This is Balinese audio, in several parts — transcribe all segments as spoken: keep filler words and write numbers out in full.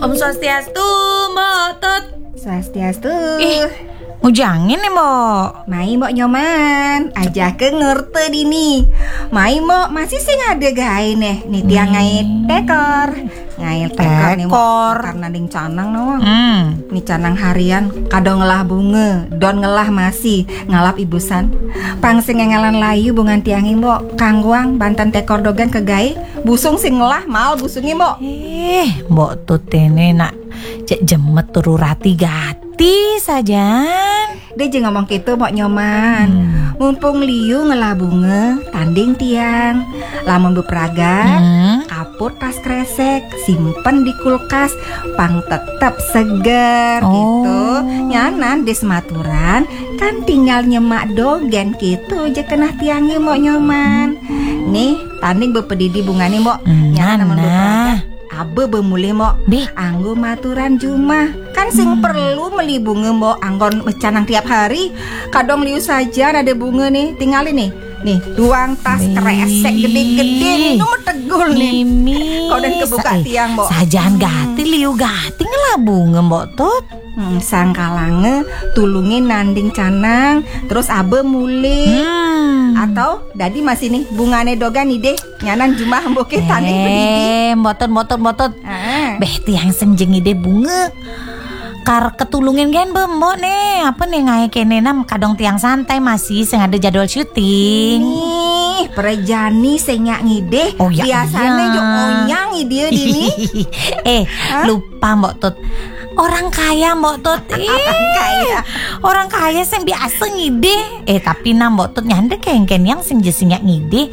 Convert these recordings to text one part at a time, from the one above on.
Om Swastiastu, Mbok Tut. Swastiastu. Ih, ngujangin nih, Mbok. Mai, Mbok Nyoman, ajaka ngerta dini. Mai, Mbok, masih sing ada gaé neh. Nih tiang ngaé tekor. Ngaé tekor nih, Mbok. Tekor. Karena ding canang nawang. Hmm. Nih canang harian, kadang ngelah bunga, don ngelah masi, ngalap ibusan. Pang sing ngénggalan layu bungan tiangé, Mbok. Kangguang banten tekor dogan ke gaé, busung sing ngelah mal busungé, Mbok. Eh, Mbok Tut ini nak cek jemet turu rati gati sajan. Dia je ngomong gitu, Mbok Nyoman. Hmm. Mumpung liu ngelah bunga, tanding tiang. Lamun bepragat, Hmm. kaput tas kresek, simpen di kulkas, pang tetep seger Oh. gitu. Nyanan des maturan, kan tinggal nyemak dogen gitu je keneh tiangé, Mbok Nyoman. Nih, tanding bepedidi bungane, Mbok. Hmm, Nyanan lamun nah. bepragat, abe bemulih, Mbok. Bih. Anggo maturan jumah. Kan sing perlu meli bunga, Mbok, anggon mecanang tiap hari. Kadang liu saja ada bunga nih, tinggalin nih. Nih, duang tas Bih. Kresek gede-gede nih, nu metegul nih. Mimi. Kau dan kebuka sa- eh, tiang, Mbok. Sajan gati liu gati ngelah bunga, Mbok Tut. Hmm, sangkalange tulunge nanding canang, terus abe mulih. Hmm. Atau dadi masih nih bungane dogan nih deh. Nyanan jumah mboke tanding pedidi. Eh, Mbok Tut, Mbok Tut, Mbok Tut. Ah. Beh, tiang sing jeng ide bunga. Kar ketulungin gen be, Mbok nih. Apa nih ngae kene nam kadang tiang santai masih sing ada jadwal syuting. Nih, perejani sing nyak ngide. Oh, ya, Biasanya iya. Yo onyang ide dini. Eh, lupa Mbok Tut. Orang kaya Mbok Tut. Ih, Kaya. Orang kaya sing biasa ngide. Eh, tapi nah Mbok Tut nyandek kengken yang sing jesing nyak ngide.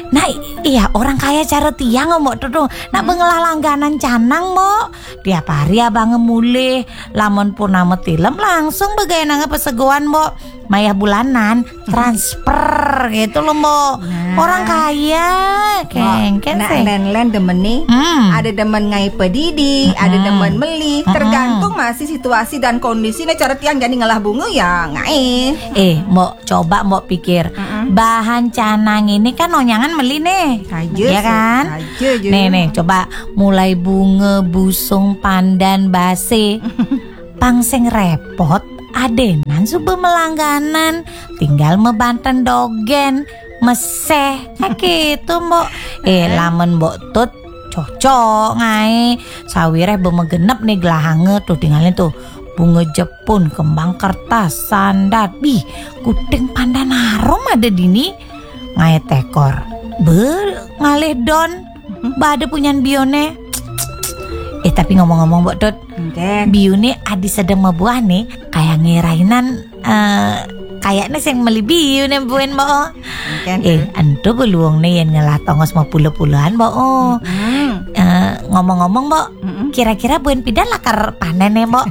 Nah, iya, orang kaya cara tiang Mbok Tut tuh. Nak bengelah langganan canang, Mbok. Tiap hari abang mulih, lamun purnama tilem langsung begawe nang pesegoan, Mbok. Mayah bulanan transfer gitu loh, Mbok. Nah. Orang kaya, kengken Nah, sing. len-len demen nih. Hmm. Ada demen ngai pedidi, ada demen meli. Tergantung masih situasi dan kondisi nih cara tiang jadi ngelah bunga ya ngai. Eh, Mbok, coba Mbok pikir. Bahan canang ini kan onyangan meli nih. Aja, Ya kan? Aja, aja. Nih, nih, coba mulai bunga, busung, pandan, base. Pang sing repot, adenan suba melangganan, tinggal mebanten dogen, meseh. Nah, gitu, Mbok. Eh, lamun Mbok Tut cocok ngae. Sawireh bemegenep nih gelahanga tuh, tinggalin tuh. Bunga jepun, kembang kertas, sandat. Bih, kuting pandan harum ada dini. Ngae tekor. Be, ngalih don. Bade punyan bione. Eh, tapi ngomong-ngomong, Mbok Tut, Oke. biune adi sedeng mebuah nih, kayak ngerainan, eh, kayaknya sing meli biune buin, Mbok. Oke. Eh, entu beluung nih yang ngelah tongos mau puluh-puluhan, Mbok. Hmm. Eh, ngomong-ngomong, Mbok, Mm-mm. kira-kira buin pidan lakar panen nih, Mbok.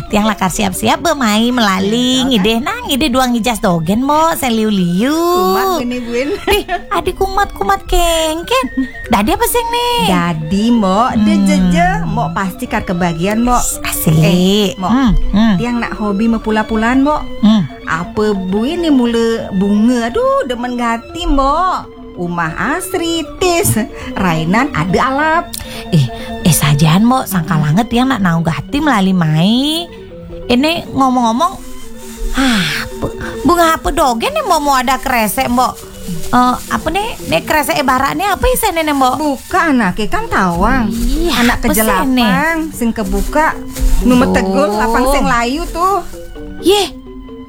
Tiang lakar siap-siap be mai melali, ngideh nah, ngideh duang ijas dogen, Mbok, seliu-liu. Kumat gini buin. Ih, adi kumat-kumat kengken. Dadi apa sing nih? Jadi, Mbok, dia Hmm. jeje, Mbok pasti kar kebagian, Mbok. Asik. Eh, Mbok. Hmm, hmm, Tiang nak hobi mepula-pulan, Mbok. hmm. Apa buin nih mula bunga? Aduh, demen gati, Mbok. Umah asri, tis. Rainan ada alap. Eh, eh sajan, Mbok, sangkalanget tiang nak naung gati melali mai. Ini ngomong-ngomong, ah, bu- bunga apa dogen nih, Mbok, mau ada kresek, Mbok? Eh, apa nih? Nih kresek ibarat nih apa isene nih, Mbok? Buka anake kan tawang. Iya, Anak apa sih, kejelapang, sing kebuka. Nu metegul Duh. Lapang sing layu tuh. Yeh,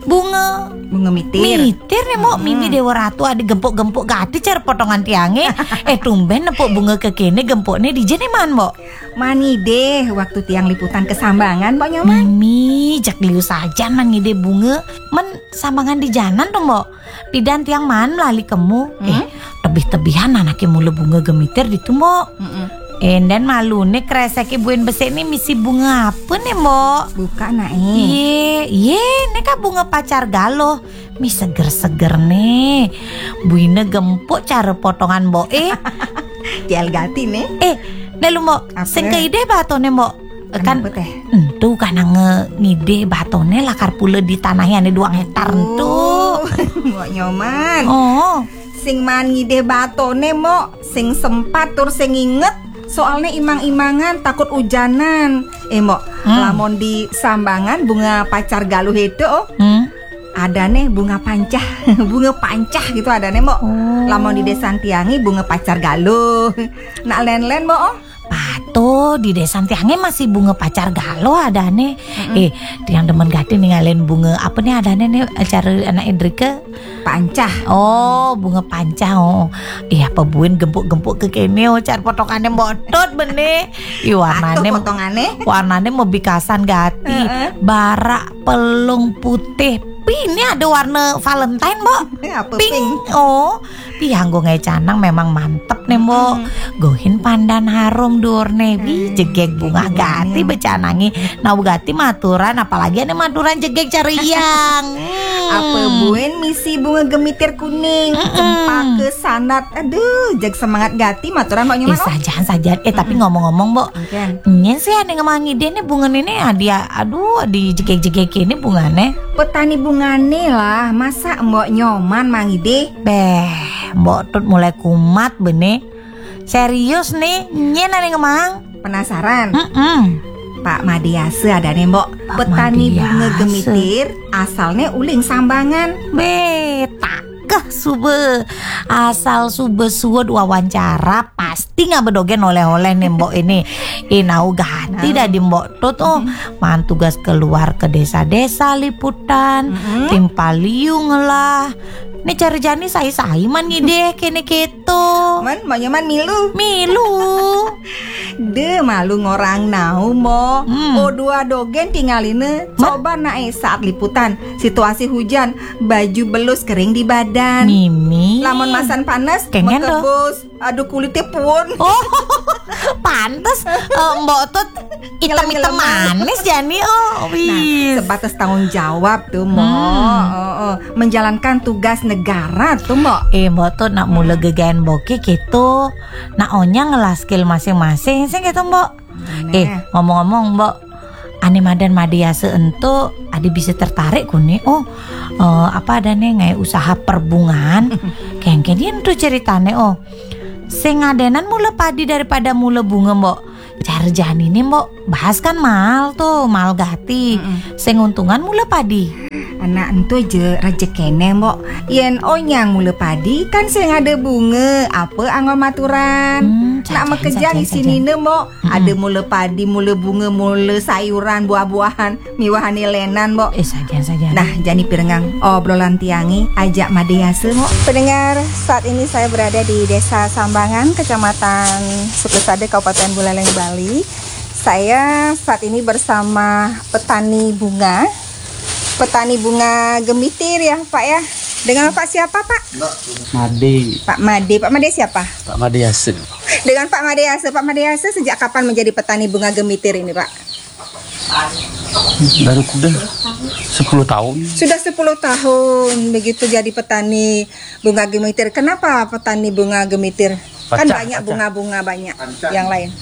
bunga Bunga mitir. Mitir nih, Mbok. Mimi Dewa Ratu ada gempuk-gempuk gati cara potongan tiange. Eh, tumben nepuk bunga kekene gempukne dije nih man, Mbok. Mani deh waktu tiang liputan kesambangan, Mbok Nyoman. Mimi jak liu sajan man ngide bunga. Men sambangan di janan tuh, Mbok. Pidan tiang man melali kemu. Eh, tebih-tebihan anake mula bunga gemitir ditu, Mbok. Mm-mm. Enden malune kreseke buin besik nih misi bunga apa nih, Mbok? Buka nak eh. Iye, iye, ini kan bunga pacar galuh. Mi seger-seger nih. Buine gempuk cara potongan, Mbok. Eh, Jel gati nih. eh, lalu, Mbok, Apa? Sing keide batone, Mbok. Kan Kenapa teh? Entu kan ngide batone lakar pula ditanahi ane duang hektar entu. Oh, Mbok Nyoman. Oh. Sing man ngide batone, Mbok. Sing sempat tur sing inget. Soalnya imang-imangan takut ujanan. Eh, Mbok, hmm, lamun di Sambangan bunga pacar galuh itu, oh. Hmm. Ada nih bunga pancah, bunga pancah gitu ada nih, Mbok. Oh. Lamun di desa tiange bunga pacar galuh. Nak len-len, Mbok, oh. Patuh, di desa tiange masih bunga pacar galuh ada nih. Mm-mm. Eh, yang demen gati ningalin bunga apa nih ada nih, nih acara anak Indrika? Pancah. Oh, bunga pancah. Oh. Iya, apa buin gempuk-gempuk ke kene, oh, car potongane Mbok Tut bene. Ih, warnane, patuh potongane, warnane mau bikasan gati. Heeh. Barak pelung putih. Pi, ini ada warna Valentine, Mbok. Eh, apa pink? Pink. Oh, pi anggo ngae canang memang mantep nih, Mbok. Hmm. Gohin pandan harum durne. Wi, hmm, jegeg bunga gati becanangi. Nah, gati maturan, apalagi ane maturan jegeg cariang. Hmm. Apa buin misi bunga gemitir kuning, mm-mm, cempaka sanat. Aduh, jeg semangat gati maturan, Mbok Nyoman. Eh, oh, sajan, sajan. Eh, tapi, mm-mm, ngomong-ngomong, Mbok. Oke. Nyen sih ane ngemang ide nih bunga ini, adi, aduh, adi jegeg-jegeg ini bungane. Petani bungane lah, masa Mbok Nyoman mang ide? Beh, Mbok Tut mulai kumat bene. Serius nih, nyen ane ngemang. Penasaran? Mm-mm. Pak Made Yase ada nih, Mbok. Pak petani bunga Made Yase. Gemitir, asalnya uling Sambangan. Be, takeh sube. Asal sube suud wawancara, pasti ngabedogen oleh-oleh nih, Mbok ini. Inau gati dah di Mbok Tut, oh. Mm-mm. Man tugas keluar ke desa-desa liputan, mm-mm, timpal liu ngelah. Nih cari jani sai-sai man ngide kene keto. Man, maunya man milu. Milu. De malu ngorang nau, Mbok. Hmm. O dua dogen tingaline. Man? Coba nae saat liputan, situasi hujan, baju belus kering di badan. Mimi. Lamun masan panas, kengen do. Mekebus. Aduh, kulitnya pun. Oh, pantes, eh, Mbok Tut item-item manis jani, oh, wis. Nah, sebatas tanggung jawab tuh, Mbok. Hmm. Oh, oh. Menjalankan tugas negara tuh, Mbok. Eh, Mbok Tut nak mula gegaen Mboke gitu. Nak onyang ngelah skill masing-masing, sing gitu, Mbok. Bener. Eh, ngomong-ngomong, Mbok, ane madan Made Yase ento, ade bisa tertarik kuni. Oh, eh, apa adane ngae usaha perbungan? Kengken yen tuh ceritane, oh. Sing ngadenan mula padi daripada mula bunga, Mbok. Car janine, Mbok, bahas kan mal tuh, mal gati. Mm-mm. Sing untungan mula padi. Anak ento je rejekene, Mbok. Yen onyang mula padi kan sing ada bunga, apa anggon maturan. Hmm, nak makejang isinine, Mbok. Mm-mm. Ada mula padi, mula bunga, mula sayuran, buah-buahan. Miwahane lenan, Mbok. Eh, sajan, sajan. Nah, jani pirengang obrolan tiange ajak Made Yase, Mbok. Pendengar, saat ini saya berada di Desa Sambangan, Kecamatan Sukusada, Kabupaten Buleleng, Bali. Saya saat ini bersama petani bunga. Petani bunga gemitir ya, Pak ya. Dengan Pak siapa, Pak? Made. Pak Made. Pak Made siapa? Pak Made Yase. Dengan Pak Made Yase. Pak Made Yase sejak kapan menjadi petani bunga gemitir ini, Pak? Baru sudah sepuluh tahun. Sudah sepuluh tahun begitu jadi petani bunga gemitir. Kenapa petani bunga gemitir? Kan banyak bunga-bunga banyak yang lain.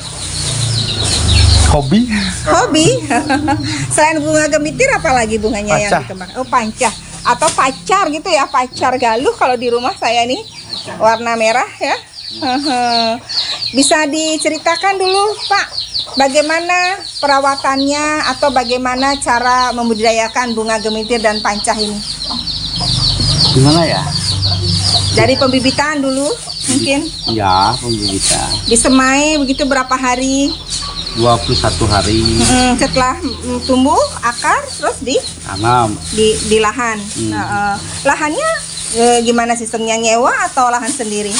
Hobi. Hobi. Selain bunga gemitir, apalagi bunganya yang dikembangkan? Oh, pancah atau pacar gitu ya, pacar galuh kalau di rumah saya nih, warna merah ya. Hehe. Bisa diceritakan dulu, Pak, bagaimana perawatannya atau bagaimana cara membudidayakan bunga gemitir dan pancah ini? Gimana ya? Dari pembibitan dulu, mungkin. Ya, pembibitan. Disemai begitu berapa hari? Dua puluh satu hari. Mm, setelah, mm, tumbuh akar, terus di, tanam di, di lahan. Hmm. Nah, eh, lahannya, eh, gimana sistemnya, nyewa atau lahan sendiri?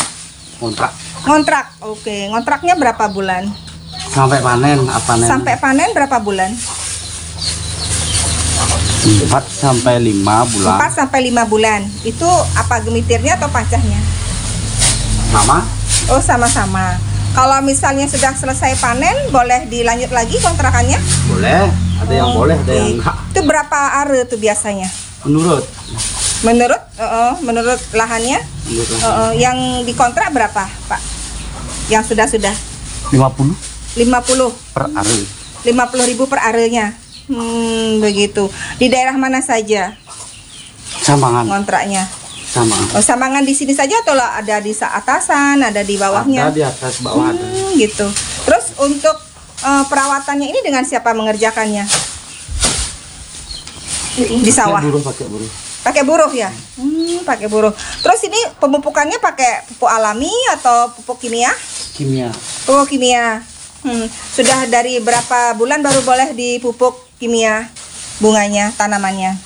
Kontrak. Ngontrak, oke. Ngontraknya berapa bulan? Sampai panen, apa panen? Sampai panen berapa bulan? Empat sampai lima bulan. Empat sampai lima bulan. Itu apa gemitirnya atau pancahnya? Sama. Oh, sama-sama. Kalau misalnya sudah selesai panen, boleh dilanjut lagi kontrakannya? Boleh. Ada yang boleh, ada yang enggak. Oke. Itu berapa are tuh biasanya? Menurut. Menurut, eh, eh, menurut lahannya? Menurut lahan. Eh, eh, yang dikontrak berapa, Pak? Yang sudah-sudah? Lima puluh. Lima puluh. Per are. Lima puluh ribu per arenya. Hmm, begitu. Di daerah mana saja? Sambangan. Ngontraknya? Sambangan. Oh, Sambangan di sini saja atau lah ada di sa-, atasan, ada di bawahnya? Ada di atas, bawah ada. Hmm, gitu. Terus untuk eh, perawatannya ini dengan siapa mengerjakannya? Di sawah. Pakai buruh, pakai buruh. Pakai buruh ya? Hmm, pakai buruh. Terus ini pemupukannya pakai pupuk alami atau pupuk kimia? Kimia. Pupuk kimia. Hmm, sudah dari berapa bulan baru boleh dipupuk kimia bunganya, tanamannya?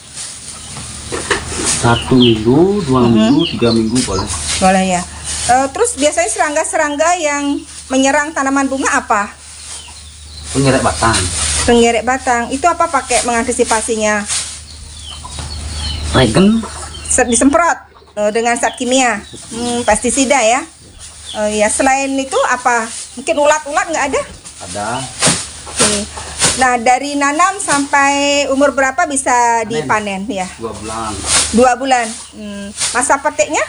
Satu minggu, dua minggu, tiga minggu boleh. Boleh ya. Eh, terus biasanya serangga-serangga yang menyerang tanaman bunga apa? Pengerek batang. Pengerek batang. Itu apa pakai mengantisipasinya? Regen. Se- disemprot eh, dengan zat kimia. Hmm, pestisida ya. Oh ya, selain itu apa? Mungkin ulat-ulat nggak ada? Ada. Oke. Nah, dari nanam sampai umur berapa bisa dipanen ya? Dua bulan. Dua bulan. Hmm, masa petiknya?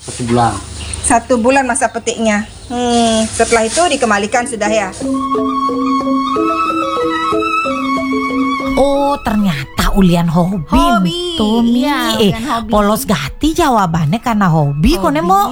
Satu bulan. Satu bulan masa petiknya. Hmm, setelah itu dikembalikan sudah ya. Oh, ternyata ulian hobi. Hobi. Tuh, Mi. Iya, eh, ulian hobi. Polos gati jawabannya karena hobi, hobi. Kone, Mbok.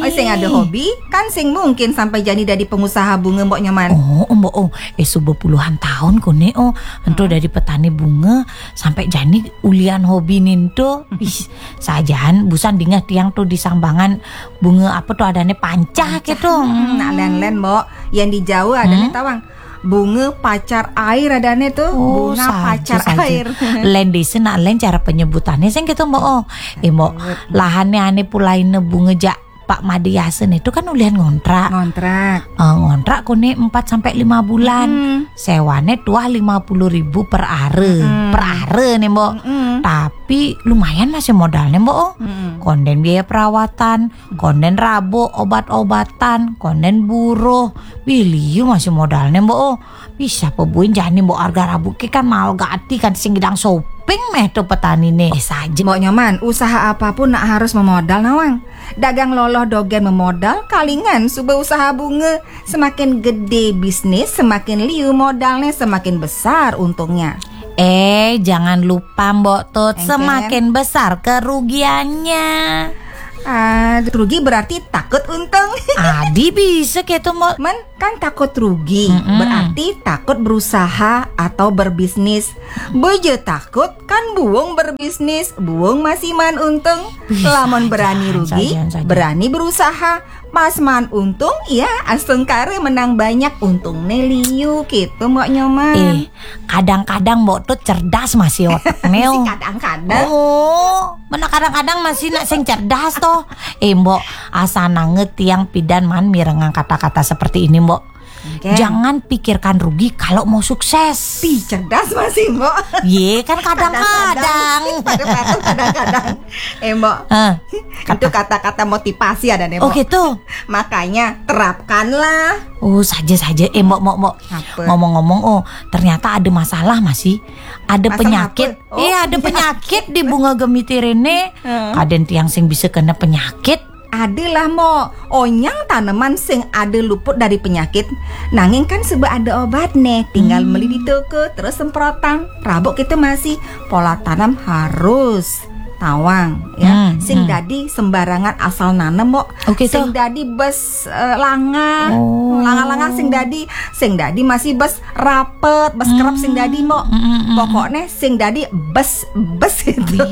Oh, sing ada hobi, kan sing mungkin sampai jani dari pengusaha bunga, Mbok Nyoman. Oh, Mbok, oh, eh, subuh puluhan tahun kone, oh, entu dari petani bunga sampai jani ulian hobi ninto. Ih, sajaan busan dingeh tiang tuh di Sambangan bunga apa tuh adanya pancah gitu. Hmm, nak len-len, Mbok. Yang di Jawa adanya tawang. Bunga pacar air adanya tuh. Oh, bunga pacar air. Len desa nak len cara penyebutannya sing gitu, Mbok. Oh, eh, Mbok, lahannya ane pulaine bunga jak Pak Made Yasin itu kan ulian ngontrak. Ngontrak. Eh, ngontrak kone empat sampai lima bulan. Hmm. Sewane tuah lima puluh ribu per are. Hmm. Per are nih, Mbok. Hmm. Tapi lumayan masih modalnya, Mbok. Oh. Hmm. Konden biaya perawatan, konden rabo obat-obatan, konden buruh, biliu masih modalnya, Mbok. Oh. Bisa pebuin jani, Mbok, harga rabo ke kan mahal gati kan sing gidang shopping meh tuh petani nih. Eh, saja. Mbok Nyoman, usaha apapun nak harus memodal nawang. Dagang loloh dogen memodal, kalingan suba usaha bunga. Semakin gede bisnis, semakin liu modalnya, semakin besar untungnya. Eh, jangan lupa, Mbok Tut, semakin besar kerugiannya. Ah, rugi berarti takut untung. Adi bisa gitu, Mbok. Men, kan takut rugi, berarti takut berusaha atau berbisnis. Bojo takut kan buung berbisnis, buung masih man untung. Lamun berani rugi, berani berusaha. Pas man untung, ya astungkara menang banyak, untung ne liu gitu, Mbok Nyoman. Eh, kadang-kadang Mbok Tut cerdas masih otak neo. Kadang-kadang. Oh, mana kadang-kadang masih nak sing cerdas toh. Eh, Mbok, asanange tiang pidan man mirengang kata-kata seperti ini, Mbok. Jangan pikirkan rugi kalau mau sukses. Pi, cerdas masih, Mbok. Ye, kan kadang-kadang. Kadang-kadang. Eh, Mbok. Eh, itu kata-kata motivasi ada nih, Mbok. Oh, gitu. Makanya terapkanlah. Oh, saja-saja. Eh, Mbok, Mbok, Mbok. Ngomong-ngomong, oh, ternyata ada masalah masih. Ada penyakit. Oh, iya, ada penyakit di bunga gemitir ini. Kaden tiang sing bisa kena penyakit. Adalah, Mbok, onyang tanaman sing ada luput dari penyakit. Nanging kan suba ada obat nih, tinggal beli di toko, terus semprotan. Rabuk kita masih pola tanam harus tawang ya. Hmm, sing dadi sembarangan asal nanem, Mbok. Oke, sing dadi bes eh, langah. Oh. Langah-langah sing dadi, sing dadi masih bes rapet, bes kerep sing dadi, Mbok. Hmm, hmm, hmm. Pokoknya sing dadi bes-bes itu.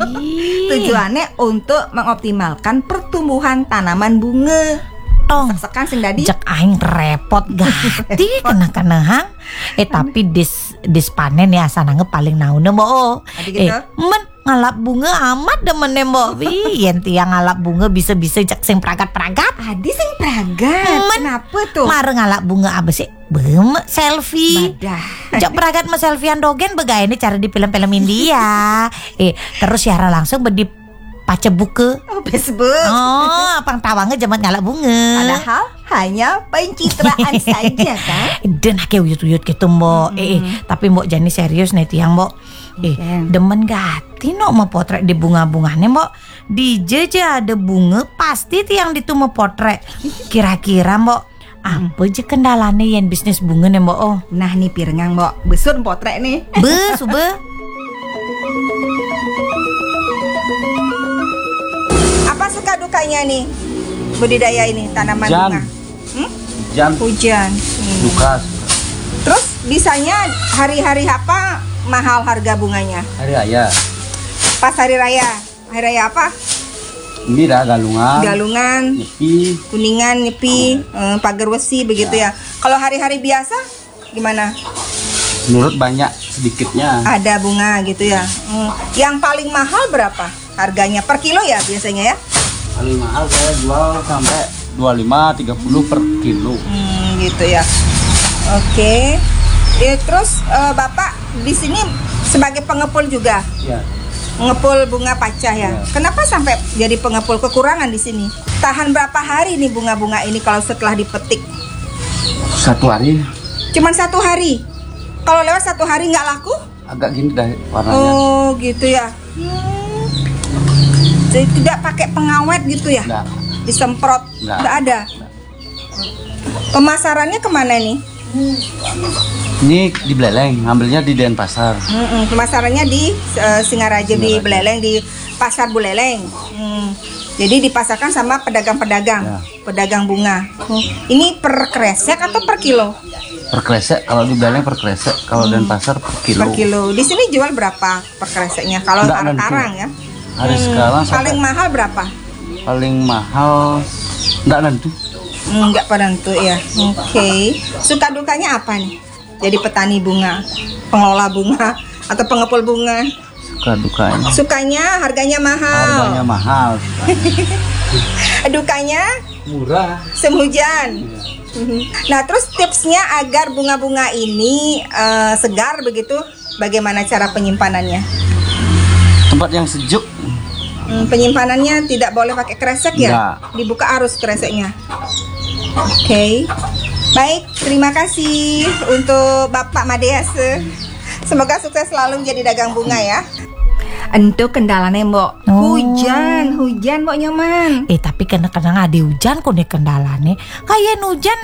Tujuannya untuk mengoptimalkan pertumbuhan tanaman bunga. Tong. Sekan sing dadi. Cek aing repot gati kena-kena hang. Eh, tapi dis dispanen ya sanange paling naune, Mbok. Adi gitu? Eh, men ngalap bunga amat demennya, Mbok. Wih, yen tiang ngalap bunga bisa-bisa cek sing pragat-pragat. Adi sing pragat. Men, kenapa tuh? Mare ngalap bunga apa sih? Bem, selfie. Badah. Cek pragat me selfiean dogen begaene cara di film-film India. Eh, terus siaran langsung bedi pace buke. Oh, Facebook. Oh, apang tawange jaman ngalap bunga. Padahal hanya pencitraan saja kan. Dan ake uyut-uyut gitu, Mbok. Eh, eh, tapi Mbok jani serius nih tiang, Mbok. Eh, demen gati no mau potret di bunga-bungane, Mbok. Di jeje ada bunga pasti tiang ditu mau potret. Kira-kira, Mbok, apa je kendalane yen bisnis bunga nih, Mbok? Oh. Nah, nih pirengang, Mbok. Besur potret nih. Be, sube. Apa suka dukanya nih budidaya ini tanaman bunga? Hmm? Hujan. Hmm. Terus bisanya hari-hari apa mahal harga bunganya? Hari raya. Pas hari raya. Hari raya apa? Ini dah Galungan. Galungan. Nyepi. Kuningan, Nyepi, eh, Pagar Wesi begitu ya. Kalau hari-hari biasa gimana? Menurut banyak sedikitnya. Ada bunga gitu ya. Hmm. Yang paling mahal berapa harganya per kilo ya biasanya ya? Paling mahal saya jual sampai dua lima, tiga puluh per kilo. Hmm, gitu ya. Oke. Ya, terus eh, Bapak di sini sebagai pengepul juga? Ya. Pengepul bunga pacah ya. Ya. Kenapa sampai jadi pengepul, kekurangan di sini? Tahan berapa hari nih bunga-bunga ini kalau setelah dipetik? Satu hari. Cuman satu hari. Kalau lewat satu hari nggak laku? Agak gini dah warnanya. Oh, gitu ya. Hmm. Jadi tidak pakai pengawet gitu ya? Nggak. Disemprot? Nggak. Nggak ada. Pemasarannya kemana nih? Ini di Buleleng, ngambilnya di Denpasar. Mm-mm, pemasarannya di eh, Singaraja, di Singaraja. Buleleng, di Pasar Buleleng. Hmm. Jadi dipasarkan sama pedagang-pedagang, ya, pedagang bunga. Hmm. Ini per kresek atau per kilo? Per kresek, kalau di Buleleng per kresek, kalau Denpasar per kilo. Per kilo. Di sini jual berapa per kreseknya? Kalau sekarang ya. Hari sekarang paling mahal berapa? Paling mahal nggak nentu. Hmm, nggak pada nentu ya. Oke. Suka dukanya apa nih? Jadi petani bunga, pengelola bunga atau pengepul bunga? Suka dukanya. Sukanya harganya mahal. Harganya mahal. Dukanya? Murah. Musim hujan. Iya. Nah, terus tipsnya agar bunga-bunga ini eh, segar begitu, bagaimana cara penyimpanannya? Tempat yang sejuk. Hmm, penyimpanannya tidak boleh pakai kresek ya? Enggak. Dibuka arus kreseknya. Oke. Baik, terima kasih untuk Bapak Madease. Semoga sukses selalu menjadi dagang bunga ya. Entu kendalane, Mbok. Oh. Hujan, hujan, Mbok Nyoman. Eh, tapi kena-kena ada hujan kok nih kendalane. Kayak hujan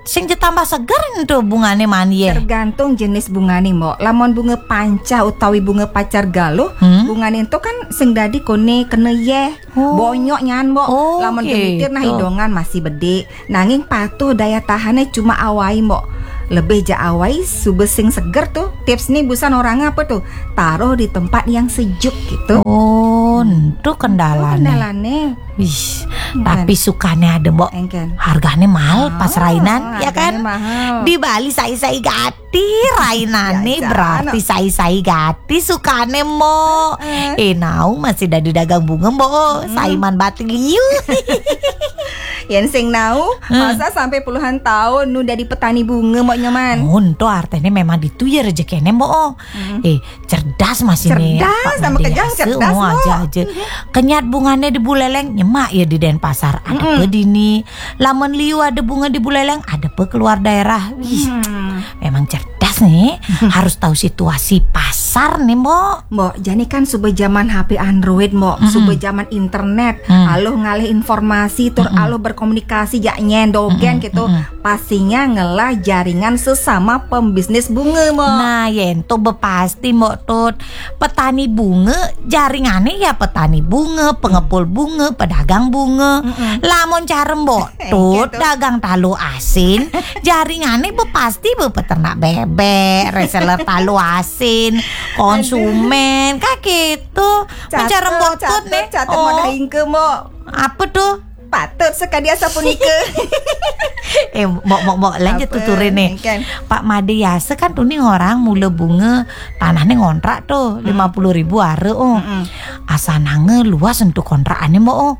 sing tambah seger entu bungane mani ye. Tergantung jenis bungane, Mbok. Lamun bunga panca utawi bunga pacar galuh, hmm? Bungane entu kan sing dadi kone kena ye. Oh. Bonyok nyan, Mbok. Oh, lamun gitu. Kemitir nah hidungan masih bedik. Nanging patuh daya tahane cuma awai, Mbok. Lebih ja awai suba sing seger tuh. Tips nih busan orang apa tuh? Taruh di tempat yang sejuk gitu. Oh, entu kendalane. Kendalane. Wih, tapi sukane ada, Mbok. Engken. Hargane mahal pas rainan, ya kan? Hargane mahal. Di Bali sai-sai gati rainane, ya, berarti sai-sai gati sukane, Mbok. Eh, nau masih dadi dagang bunga, Mbok. Saiman bati liu. Yen sing nau, masa sampai puluhan tahun nu dadi petani bunga, Mbok Nyoman. Oh, entu artine memang ditu ya rezekine, Mbok. Eh, cerdas masih nih. Cerdas, Pak sama Made kejang, ya. Cerdas, oh, aja, aja. Kenyat bungane di Buleleng, nyemak ya di Denpasar. Ada pe dini. Lamun liu ada bunga di Buleleng, ada pe keluar daerah. Wih, memang cerdas nih. Harus tahu situasi pasar nih, Mbok. Mbok, jani kan suba zaman H P Android, Mbok. Suba zaman internet. Aluh ngalih informasi, tur aluh berkomunikasi, jak nyen dogen gitu. Pastinya ngelah jaringan sesama pembisnis bunga, Mbok. Nah, yen to bepasti, Mbok Tut. Petani bunga, jaringane ya petani bunga, pengepul bunga, pedagang bunga. Lamun cara Mbok Tut, dagang talu asin, jaringane bepasti be peternak bebek, reseller talu asin, konsumen, kayak gitu. Cara Mbok Tut nih. Catet, catet, oh. Modal ingke, Mbok. Apa tuh? Patut sekadi asapunika. Eh, Mbok, Mbok, Mbok, lanjut tuturine. Pak Made Yasa kan tuni orang mula bunga tanahnya ngontrak tuh, lima puluh ribu are, oh. Asanange luas untuk kontrakane, Mbok, oh.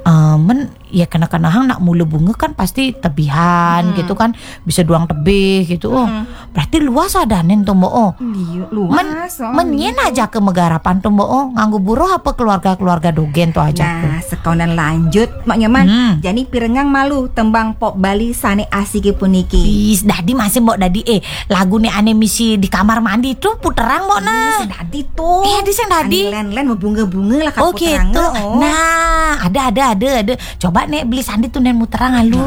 Eh, men, ya kena-kena hang nak mula bunga kan pasti tebihan gitu kan, bisa duang tebih gitu, oh. Berarti luas adanin tuh, Mbok, oh. Liu, luas. Men, oh, men yen aja ke megarapan tuh, Mbok, oh, nganggo buruh apa keluarga-keluarga dogen tuh aja. Nah, sekonan lanjut, Mbok Nyoman. Jani pirengang malu tembang pop Bali sane asike puniki. Is, dadi masih, Mbok, dadi, eh, lagune ane misi di kamar mandi tuh puterang, Mbok, nah. Sing dadi tuh. Eh, di sing dadi. Ane len-len bunga-bunga lah. Oh, gitu. Nah, ada, ada, ada, ada. Coba nek beli sandi tuh nen muterang alu.